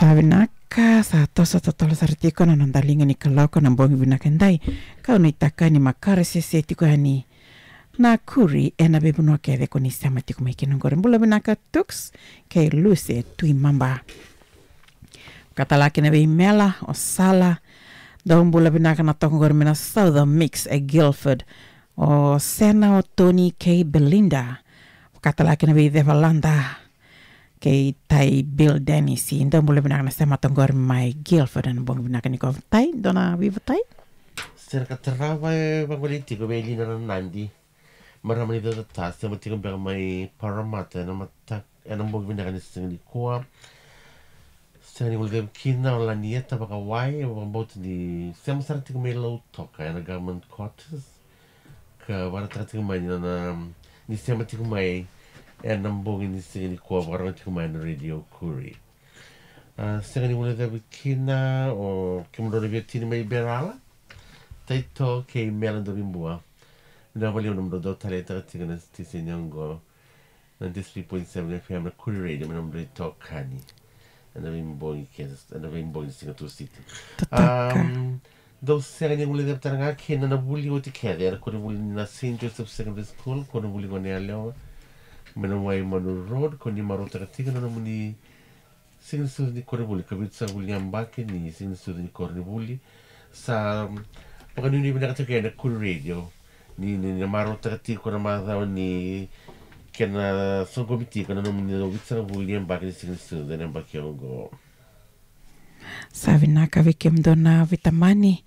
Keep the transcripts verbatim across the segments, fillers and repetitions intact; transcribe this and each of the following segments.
Sa vinaka, sa toso totolo sara tiko na noda liga ni kaloko ena bogi vinaka edai. Kau nuitaka ni makaresese tiko yani na Koori ena veivanua kece ko ni sema tiko mai kina oqori. Bula vinaka Tuks kei Lucy e Tuimaba. Ka tale ga kina vei Mela, o Sala. Dou bula vinaka na toka oqori mai na Southern Mix e Guildford. O Sena, o Tony kei Belinda. Ka tale ga kina vei Cevalada kei Tai Bill Dennis. Dou bula vinaka na sema toka oqori mai Guildford ena bogi vinaka nikua. Tai, dua na veivatai? Sena ka tarava e vagolei tiko vei Lina Ranadi. Marama ni Caucata, sema tiko beka mai Parramatta ena mata, ena bogi vinaka ni siga nikua. Sega ni guilecavi kina o Lanieta Vakawai, e vakabauta ni sema sara tiko mai Lautoka ena government quarters. Ka vakaraitaka tiko mai ni nona, ni sema tiko mai ena bogi ni siga nikua, vakarogo tiko mai na Radio Koori. A, sega ni guilecavi kina o kemudrau na veiwatini mai Berala, Taito kei Mela Dovibua. Vinaka vakalevu na nomudrau dau taleitaka tiko na station oqo, na ninety-three point seven F M na Koori Radio, me nomudrau itokani ena veibogi kece, ena veibogi ni siga Tusiti. Totoka. Am, dou sega ni guilecavi tale ga kina na vuli oti kece ena koronivuli na Saint Joseph Secondary School, koronivuli Goneyalewa, mai na Waimanu Road, ko ni marautaka tiko na nomuni siga ni sucu ni koronivuli, ka vitusagavulu ni yabaki ni siga ni sucu ni koronivuli. Sa, mm, vakanuinui vinaka tiko ena Koori Radio ni, ni, ni marautaka tiko na macawa ni kena soqomi tiko na nomuni vitusagavulu ni yabaki ni siga ni sucu ena yabaki oqo. Sa vinaka vei kemudou na veitamani.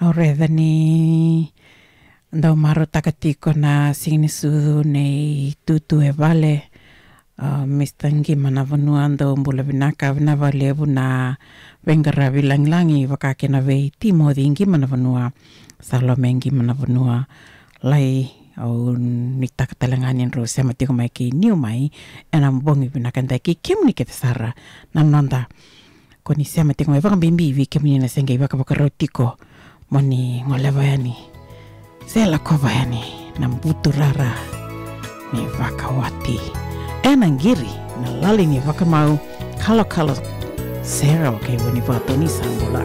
Au raica ni dau marautaka tiko na siga ni sucu nei Tutu e vale. A, Mister Qimanavanua, dou bula vinaka, vinaka vakalevu na veiqaravi lagilagi, vaka kina vei Timoci Qimanavanua, Salome Qimanavanua. Lai, au nuitaka tale ga ni drau sema tiko mai kei Niu mai ena bogi vinaka edai, kei kemuni kece sara na noda ko ni sema tiko mai, vakabibi vei kemuni na se qai vakavakarau tiko mo ni goleva yani se lakova yani na buturara ni vakawati ena qiri na lali ni vakamau. Kalokalo Sera o kei Vunivatu, ni sa bula.